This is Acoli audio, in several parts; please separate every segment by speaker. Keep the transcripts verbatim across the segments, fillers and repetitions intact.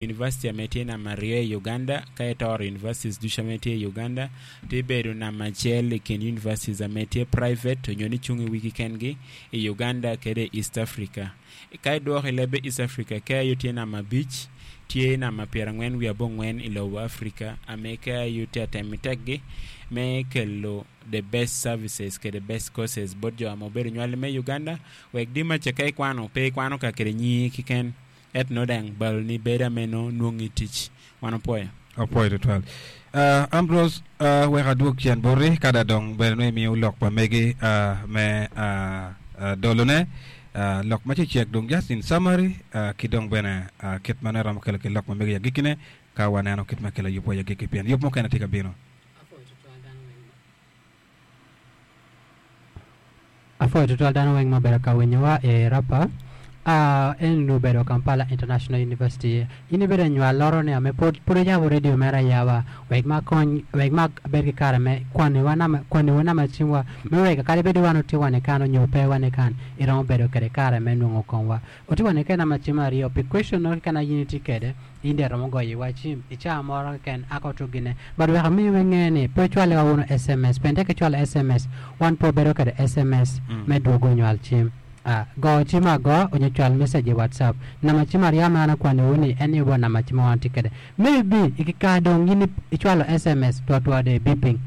Speaker 1: University ame tye namba aryo i Uganda ka itoro universities ducu ame tye i Uganda tye bedo namba acel i kin universities ame tye private onyo ni cung i wigi kengi i Uganda kede i East Africa. Ka idwoko i lebe East Africa K I U tye namba abic tye namba pyerangwen wiye abongwen i lobo Africa ame K I U tye atemo tekgi me kelo the best services kede best courses bot jo ame obedo nywali me Uganda wek di maca ka ikwano pe ikwano ka kede nyingi keken et no dang balo ni bedo ame no nwongi tic wan opwoyo.
Speaker 2: Opwoyo tutwal. Uh, Ambrose, uh, wek adwog cen boti kada dong bene nongo imiyo lok pa megi uh, me uh, uh, dolone uh, lok ma cecek dong just in summary uh, ki dong bene uh, kit ma nongo iromo kelo ki lok ma megi agikine ka waneno kit ma kelo yubwa i agikki pien yub mukene tye ka bino.
Speaker 3: Apwoyo tutwal dano weng ma obedo ka winyowa i Rapa. Uh, en obedo Kampala International University. In ibedo nywal loro ni ame pod pod oyabo radio mere ayaba wek ma kony wek ma bed ki kare me kwaniwa nama kwaniwa nama cimwa me wek kadi bed wan otye wan i kan onyo pe wan i kan iromo bedo kede kare me nwongo kongwa. Otye wan kede nama cim aryo pi question no keken a in itye kede in dong iromo goyo iwa cim i caa moro keken aka otuk gine but wek amiyi inge ni pe ocwaliwa wunu S M S pien tek icwalo S M S wan pe obedo kede S M S me dwogo nywal cim. Uh, go cim agoa onyo cwal message i WhatsApp. Namba cim aryo ma an akwaniwu ni en ni obo namba cim ma wan tye kede. Maybe i kikare dong in icwalo S M S twatwa de beeping.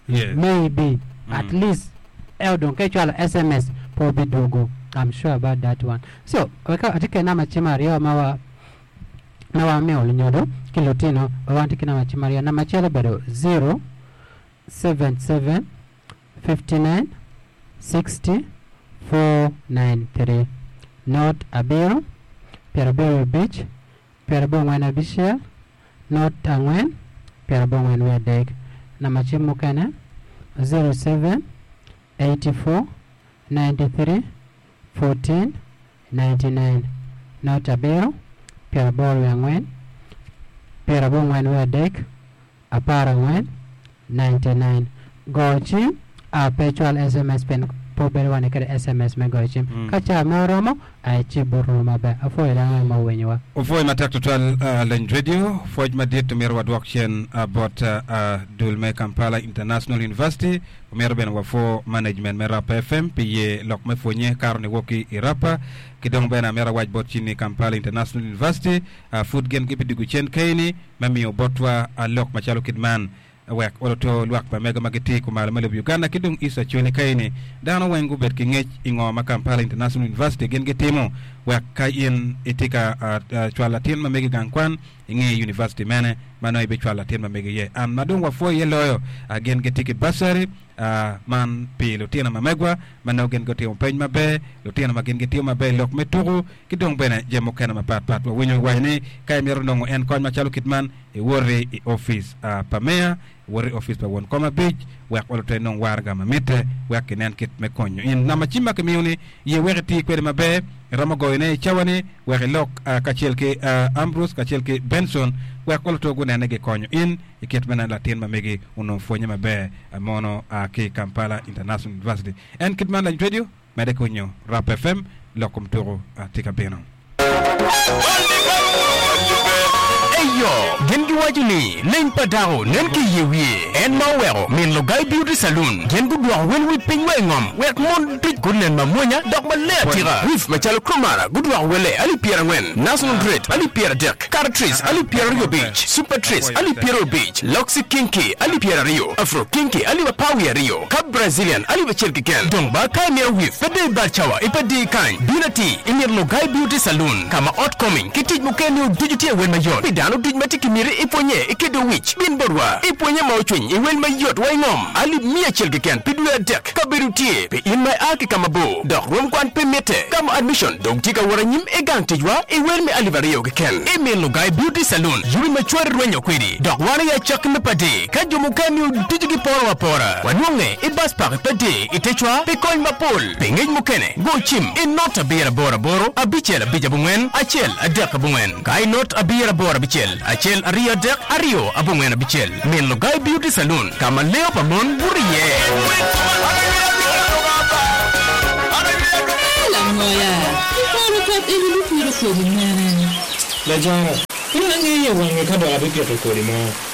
Speaker 2: Yes.
Speaker 3: Maybe at
Speaker 2: Mm.
Speaker 3: least eo dong ka icwalo S M S pe obidwogo. I'm sure about that one. So, wek atye kede namba cim aryo ma wa ma wamiyo lunyodo ki lutino wan tye ki namba cim aryo. Namba acel obedo zero seven seven fifty-nine sixty four nine three not abiro pyerabiro abic pyerabongwen abicel not angwen pyerabongwen wiye adek. Namba cim mukene zero seven eighty-four ninety-three fourteen ninety-nine not abiro pyeraboro wiye angwen pyerabongwen wiye adek apar angwen ninety-nine. Go cim a pe cwal S M S pien pe obedo wan kede S M S me goyo cim.
Speaker 2: Mm.
Speaker 3: Ka ca me oromo ai ci buto maber. Apwoyo dano weng ma owinyowa.
Speaker 2: Opwoyo matek tutwal uh, Leny Radio pwoc madit omyero wadwok cen uh, bot uh, uh, dul me Kampala International University. Omyero bene wapwo management me Rapa F M pi ye lok me pwonye karo ni wok ki i Rapa ki dong bene amyero awac bot cin ni Kampala International University uh, pud gin gibidwogo cen keini me miyo botwa uh, lok macalo kit man wek oloto lwak pa mego ma gitye kumalo me lobo Uganda ki dong East Acholi kaini dano weng gubed ki ngec i ngo ma Kampala International University gin gitimo wek ka in itye ka uh, uh, cwalo latin ma megi gang kwan inge university mene ma nongo ibicwalo latin ma megi iye an ma dong wapwoyo iye loyo uh, gin gitye ki bursary uh, man pi lutino ma megwa ma nongo gin gutimo peny maber lutino ma gin gitimo maber i lok me tuku ki dong bene jami mukene mapatpat wawinyo waco ni ka imito nongo en kony macalo kit man iwoti i office uh, pa meya iwoti i office pa won kom abic wek oloto inong waraga ma mitte wek kinen kit me konyo in namba cim ma kimiyo ni ye wek iti kwede maber iromo goyone i cawa-ni wek ilok uh, kacel ki uh, Ambrose kacel ki Benson wek oloto gunene gikonyo in i kit me latin ma megi onongo pwonye maber uh, mono uh, ki Kampala International University en kit man Lany Radio mede konyo Rap F M lok kom tuko uh, tye ka bino.
Speaker 4: Eyo, gin giwaco ni leny pa dako nen ki iye wiye en ma oweko min Lugai Beauty Saloon gin gudwoko wel wi piny wa i ngom wek mon duc gunen mamwonya dok maler atika. Weave macalo Cromara gudwoko wele alip pyerangwen, National Dread alip pyeradek, Caratrice alip pyeraryo abic, Super Trace alip pyeraryo abic, Loxy Kinky alip pyeraryo, Afro Kinky alip apar wiye aryo, ka Brazilian alip acel keken. Dong ba ka imito weave pe dong ibal cawa ipe di kany bin ati i min Lugai Beauty Saloon ka ma ot koming ki tic mukene ducu tye wel mayot pi dano duc ma tye ki miti ipwonye i kedo wic bin botwa ipwonye ma ocwiny i wel mayot wa i ngom alip mia acel keken pi dwe adek kabedo tye pi in ma ia ki ka mabor dok rwom kwan pe mitte gamo admission dong tye ka wot anyim i gang ticwa i wel me alip aryo keken i min Lugai Beauty Saloon yubi ma cwari rwenyo kwedi dok wan i acakki me padi ka jo mukene ducu giporo apora wanwonge i bus park i padi i tecwa pi kony mapol pi ngec mukene go cim i not abiro aboro aboro abicel abic abongwen acel adek abongwen ka i not abiro aboro abicel acel aryo adek aryo abongwen abicel min Lugai Beauty Saloon ka ma leo pa mon buto iye.
Speaker 5: Langoya, iporo kot eni bipiro kwedi mene. La jara, ina ng'iyo wang'e ka dok abipito kodi mo.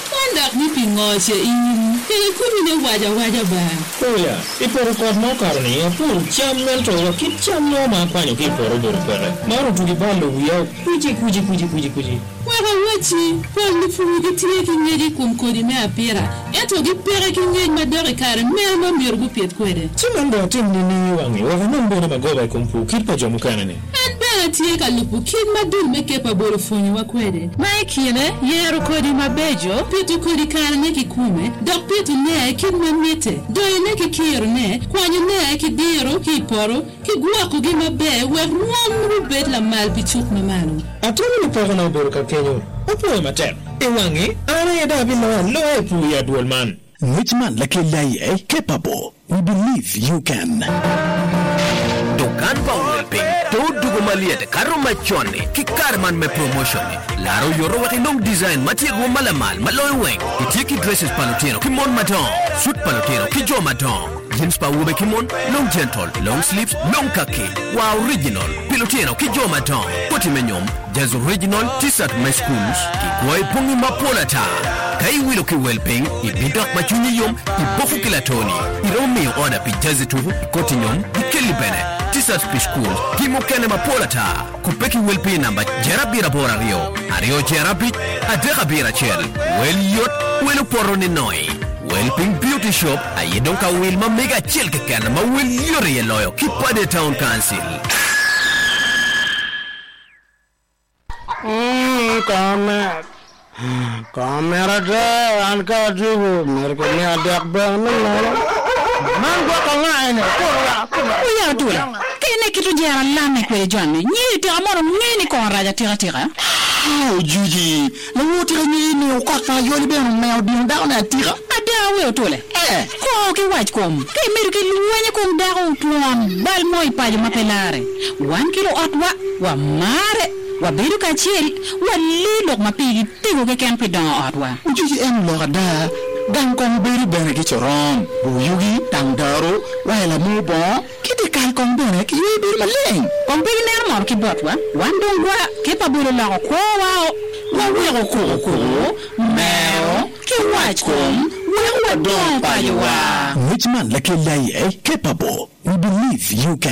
Speaker 6: Man dok ni pi ngo ce in, kede kumi ne waja waja ba.
Speaker 5: Oya, i poto kot ma okato ni apuro cam ento wa kit cam no ma akwanyo ki i poto obedo peke. Man otugi balo wiya kuci kuci kuci kuci kuci.
Speaker 6: Wek awaci, pol lupur gitye ki ngec i kom kodi me apira, ento gipeke ki ngec ma dok i kare mene ma myero gupit kwede.
Speaker 5: Ci man dong atim nining i wang'e wek anong bene magoba i kom pur kit pa jo mukene ni.
Speaker 6: En bene tye ka lubo kit ma dul me Capable opwonyowa kwede. Ma i kine, yero kodi mabeco, pito kodi karene ki kume, dok pito ne kit ma mitte, doyone ki kirone, kwanyone ki diro ki i poto, ki gwokogi maber wek rwom rubed lamal pi cuk mamalo.
Speaker 5: Atemo ni peko na obedo ka kenyo, opwoyo matek. I wang'e, an aye dok abiloyo aloya i pur i adwol man.
Speaker 7: Ngec man lakel aye Capable. We believe you can.
Speaker 4: Dukan pa Welping to dugo maliet kato macon ki kare man me promotion laro yoro wek inong design ma tye rwom ma lamal ma loyo weng itye ki dresses pa lutino ki mon madongo suit pa lutino ki jo madongo jeans pa awobe ki mon long gentle long sleeves long khaki wa original pi lutino ki jo madongo koti me nyom jaz original t-shirt me schools ki kwoyi bongi mapol ata ka iwilo ki Welping ibidok ma cwinyi yom iboko ki latoni iromo miyo order pi jazi tuku koti nyom gi kelli bene t-shirts pi school ki mukene mapol ata kupe ki Welping namba jer abiro aboro aryo aryo jer abic adek abiro acel wel yot wel opoto ni noi Welping Beauty Shop aye dong ka wil ma mega acel keken ma wel yot iye loyo ki Pade Town Council.
Speaker 8: Komet. Komet ate, an ka atugo, myero kimiya dek bene me nono. Man gwoko nga ene, kurwa, kurwa.
Speaker 9: Oya otula, kene kit ojera lame kwede joni, nyiri tika mono ng'e ni kono rac atika tika.
Speaker 7: Ah, ojuji, lawo tika ng'e ni okot pa ayoli bene omeo dino dako ne atika.
Speaker 9: Ada we otule.
Speaker 7: Eh.
Speaker 9: Ko ki wac kom, ka imedo ki lwenye kom dako otwon, bal mo i paco ma pe lare. Wan ki luotwa, wa mare, wabedo kacel, wali lok ma pigi tego keken pi dongo otwa.
Speaker 7: Ojuji en lok ada, gang kong bedo bene ki coron, buyugi, tang daro, waila mo bongo, kiti kal kong bene ki ywe bedo maleng.
Speaker 9: Kong pe gineno moro ki botwa, wan dong gwa ke pa bolo loko kwowa o, waweko kuku kuku, mero, ki wac kom, weko wadongo pacowa.
Speaker 7: Ngec man lakel aye Capable. We believe you can.